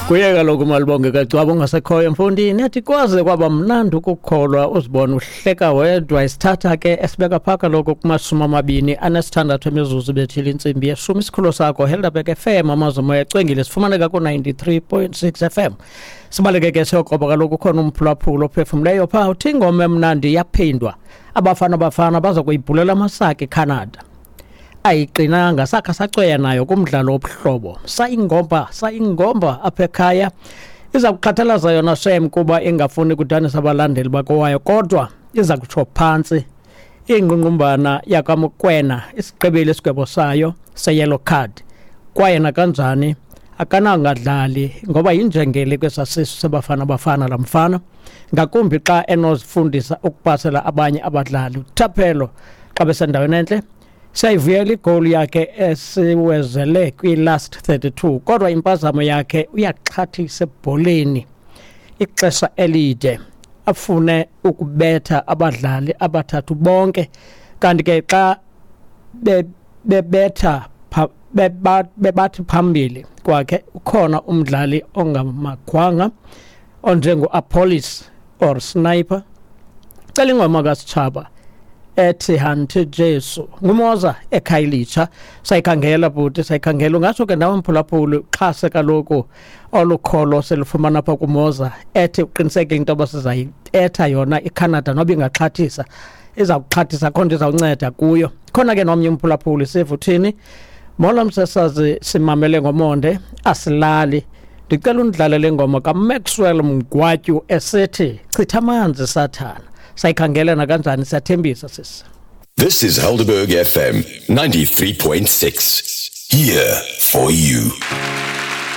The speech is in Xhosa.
Kuye kaloku Malibonge kaGcwaba ongasekhoyo mfondini, athi kwaze kwaba mnandi ukukholwa uzibona uhleka wedwa. Isithatha ke esibeka phaa kaloku kuma-26 emizuzu bethile intsimbi yeshumi. Isikhululo sakho Helderberg FM, amazwi moya ecwengile, sifumaneka ku-93.6 FM. Sibaleke ke siyokroba kaloku, ukhona umphulaphula ophefumleyo phaa uthi ingoma emnandi iyaphindwa, abafana bafana baza kuyibhulela amasaka eCanada. Ayiqinanga, sakha sacweya nayo kumdlalo wobuhlobo, sayingomba sayingomba apha ekhaya. Iza kuxhathalaza yona shem kuba ingafuni kudanisa abalandeli bakowayo, kodwa iza kutsho phantsi ingqungqumbana yakwaMokwena isigqibile isigwebo sayo se-yellow card, kwaye nakanjani akanangadlali ngoba yinjengele kwesa sisu sebafana bafana la mfana, ngakumbi xa enozifundisa ukupasela abanye abadlali. Uthaphelo xa besendaweni entle siyayivuyela igoli yakhe esiwezele kwi-last 32, kodwa impazamo yakhe uyaxhathisa ebholeni ixesha elide, afune ukubetha abadlali abathathu bonke, kanti ke xa bebetha bebathi phambili kwakhe ukhona umdlali ongamakhwanga onjengo-Apolis or Sniper. Cela ingoma kaSitshaba ethi Hanti Jesu, nguMoza eKhayelitsha. Sayikhangela bhuti, sayikhangela. Ungatsho ke nawe mphulaphuli uxhase kaloku olu kholo selufumana apha kuMoza, ethi uqinisekile into yoba sizayibetha yona iCanada noba ingaxhathisa, iza kuxhathisa akho nto izawunceda kuyo. Khona ke nomnye umphulaphuli siva uthini. Molo msasazi, simamele ngomonde, asilali. Ndicela undlalele ingoma kaMaxwell Mgwatyu esithi chitha amanzi sathana. Sayikhangela nakanjani, siyathembisa sisi. This is Helderberg FM 93.6. Here for you.